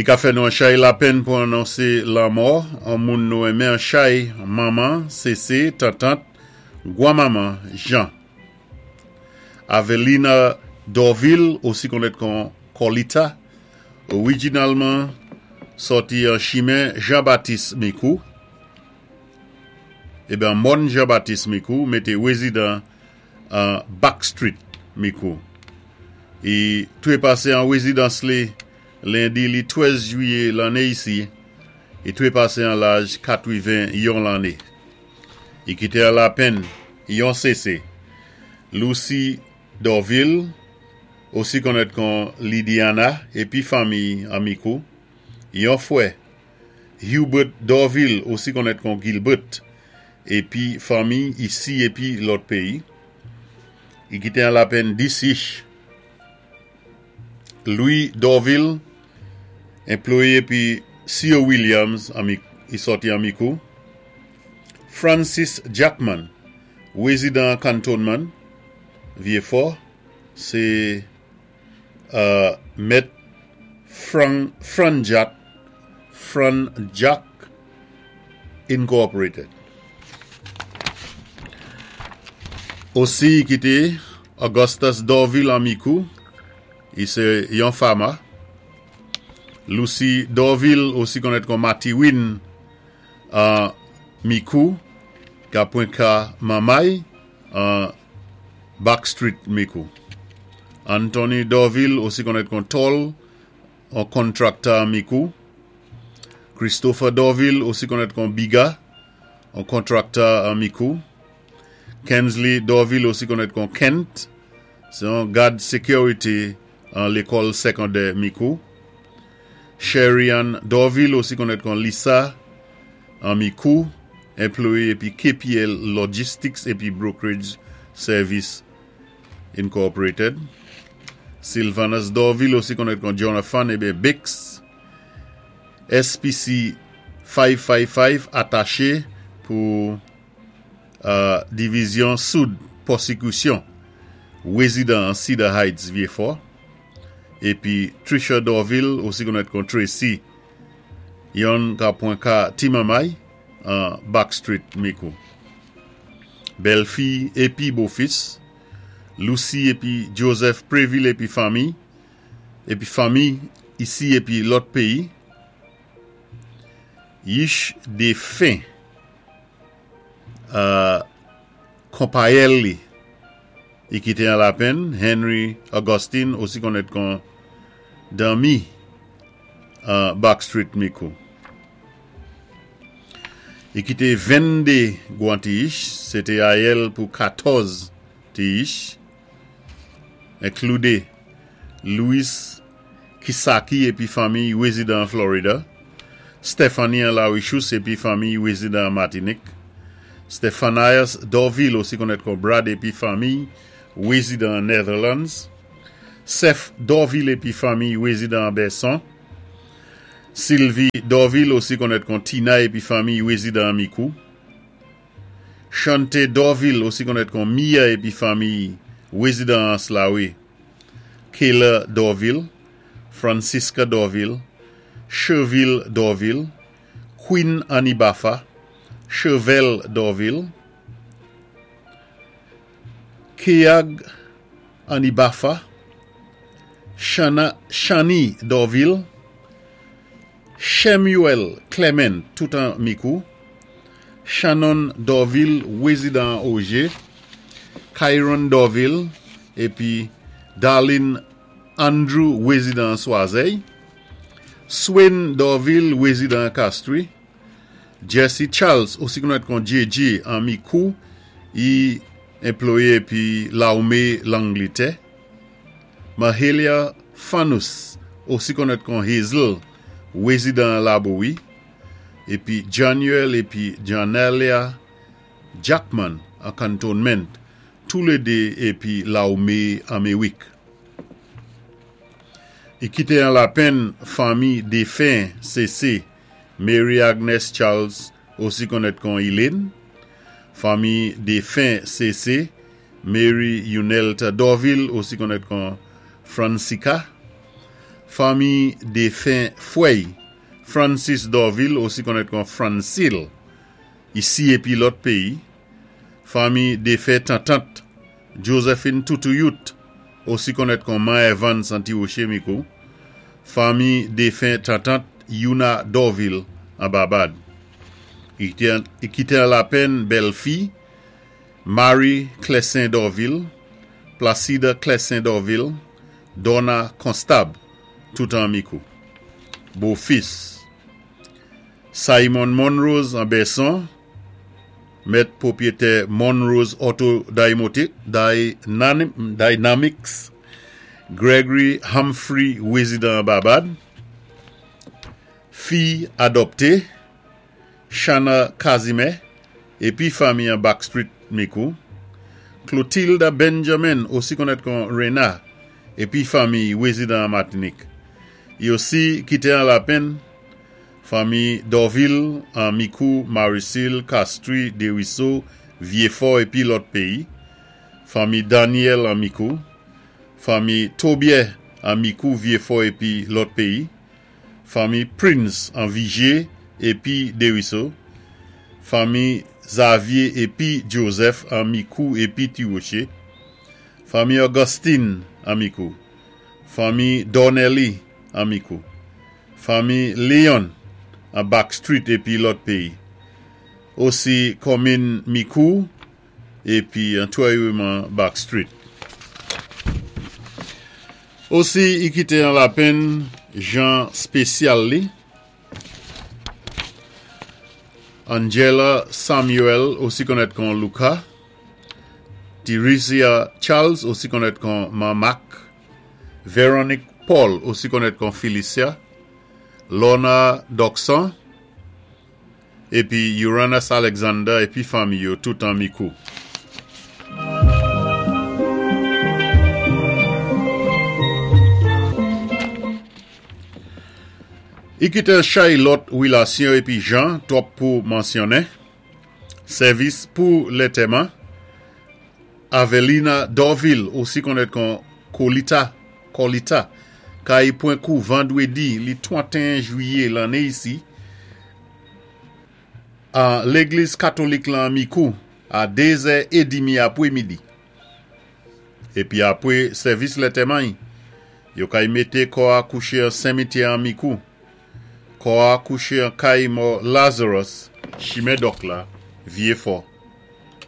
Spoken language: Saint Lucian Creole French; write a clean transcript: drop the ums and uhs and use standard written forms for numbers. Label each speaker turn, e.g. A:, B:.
A: I ka fè nou an chay lapenn pou anonsé lanmò an moun nou enmen an chay, manman, sésé, tantant, gwanmanman Jan. Avelina Dorvil, osi konnèt kon Kòlita, orijinalman sòti an chimen Jan Batis Mikou, eben mòn Jan Batis Mikou, mété wézidan an Back Street, Mikou. I twépasé an wézidans li lendi li 13 jwiyé lanné isi, i twépasé an laj 81 lanné. I kité an lapenn yon sésé, Lucy Dorvil, osi konnèt kon Lidiana épi fanmiy an Mikou, yon fwè, Hubert Dorvil, osi konnèt kon Gilbert, épi fanmiy isi épi lòt péyi. I kité an lapenn 10 ich. Louis Dorvil, enployé épi C.O. Williams an i sòti an Mikou. Francis Jackman, wézidan Cantonment, Vyéfò, sé mèt Franjat, Franjack Incorporated. Osi i kité Augustus Dorvil an Mikou, i sé yon fama. Lucy Dorvil, osi konnèt kon Matiwin an Mikou, ka pwen ka Manmay an Back Street, Mikou. Anthony Dorvil, osi konnèt kon Tòl, an kontrakta an Mikou. Christopher Dorvil, osi konnèt kon Biga, an kontrakta an Mikou. Kensley Dorvil, osi konnèt kon Kent, sé an gad sékirité an lékòl sékondè Mikou. Sherry-Ann Dorvil, osi konnèt kon Lisa, an Mikou, enployé épi KPL Logistics épi Brokerage Service Incorporated. Sylvanus Dorvil, osi konnèt kon Jonathan eben Bix, SPC 555 ataché pou Divizyon Soud Pwosikusyon, wézidan an Cedar Heights, Vyéfò. Épi Trisha Dorvil, osi konnèt kon Tracy, yonn ka pwan ka Ti Manmay an Back Street, Mikou. Bèlfi épi bofis, Lucy épi Joseph Prévil épi fanmi, épi fanmi isi épi lòt péyi. Yich défen konpayèl li i kité an lapenn, Henry Augustine, osi konnèt kon Danmi an Back Street, Mikou. I kité 22 gwan ti ich, sé té ayèl pou 14 ti ich, enkloude Louis Kisaki épi fanmiy wézidan an Florida, Stephanie an Larichous épi fanmiy wézidan an Matinik, Stephanias Dorvil osi konnèt kon Brad épi fanmiy wézidan an Netherlands, Seth Dorvil épi fanmiy wézidan an Bèson, Sylvie Dorvil osi konnèt kon Tina épi fanmiy wézidan an Mikou, Chante Dorvil osi konnèt kon Mia épi fanmiy wézidan an Slawe. Kayla Dorvil, Francisca Dorvil, Cherville Dorvil, Queen Anibafa, Chevelle Dorvil, Keag Anibafa, Shana, Shani Dorvil, Shemuel Clement, tout an Mikou, Shannon Dorvil, wézidan an Ogé, Kyron Dorvil, épi Darlene Andrew, wézidan an Swazèy, Swain Dorvil, wézidan an Castries, Jesse Charles, osi konnèt kon JJ an Mikou, i enployé épi Lawmé Langlitè, Mahalia Fanous, osi konnèt kon Hazel, wézidan an Labowi, épi Januel épi Janelia Jackman an Cantonment, toulédé épi Lawmé Anméwik. I kité an lapenn fanmi défen sésé Mary Agnes Charles, osi konnèt kon Elaine, fanmi défen sésé Mary Unelta Dorvil, osi konnèt kon Francica, fanmi. Fanmi défen fwè'y, Francis Dorvil, osi konnèt kon Francil, isi épi lòt péyi. Fanmi défen tantant, Josephine Toutouyut, osi konnèt kon Man Evans an Ti Woché Mikou. Fanmi défen tantant, Youna Dorvil, an Babad. I kité an lapenn bèlfi, Marie Clessin Dorvil, Placide Clessin Dorvil, Donna Constab, tout an Mikou. Bofis, Simon Monrose an Bèson, mèt pwopwiyétè Monrose Auto Dynamics, Gregory Humphrey wézidan an Babad, Fi adòpté, Shana Casimir épi fanmi an Back Street Mikou, Clotilda Benjamin osi konnèt kon Rena épi fanmi wézidan an Matinik. I osi kité an lapenn fanmi Dorvil an Mikou, Marissil, Castries, Desruisseaux, Vyéfò épi lòt péyi, fanmi Daniel an Mikou, fanmi Tobier an Mikou, Vyéfò épi lòt péyi, fanmi Prince an Vigier épi Desruisseaux, fanmi Xavier épi Joseph an Mikou épi Ti Woché, fanmi Augustine an Mikou, fanmi Dornelly an Mikou, fanmi Leon an Back Street épi lòt péyi. Osi kòminn Mikou épi antwèyweman Back Street. Osi i kité an lapenn jan spésyal li, Angela Samuel osi konnèt kon Luca, Theresia Charles osi konnèt kon Man Mac, Veronique Paul osi konnèt kon Felicia, Lorna Doxon, Épi Uranus Alexander épi fanmi yo tout an Mikou. I kité chay lòt wilasyon épi jan twòp pou mansyonnen. Sèvis pou lentèman, Avelina Dorvil osi konnèt kon Kolita, Kòlita, kay pwen kou vandwédi li 31 jwiyé lanné isi, an légliz katolik lan Mikou a 2 zè édimi apwé midi. Épi apwé sèvis lentèman-y, yo kay mété kò-a kouché an senmityè an Mikou. Kò-a kouché an kay mò Lazarus, chimen Dòk la, Vyéfò.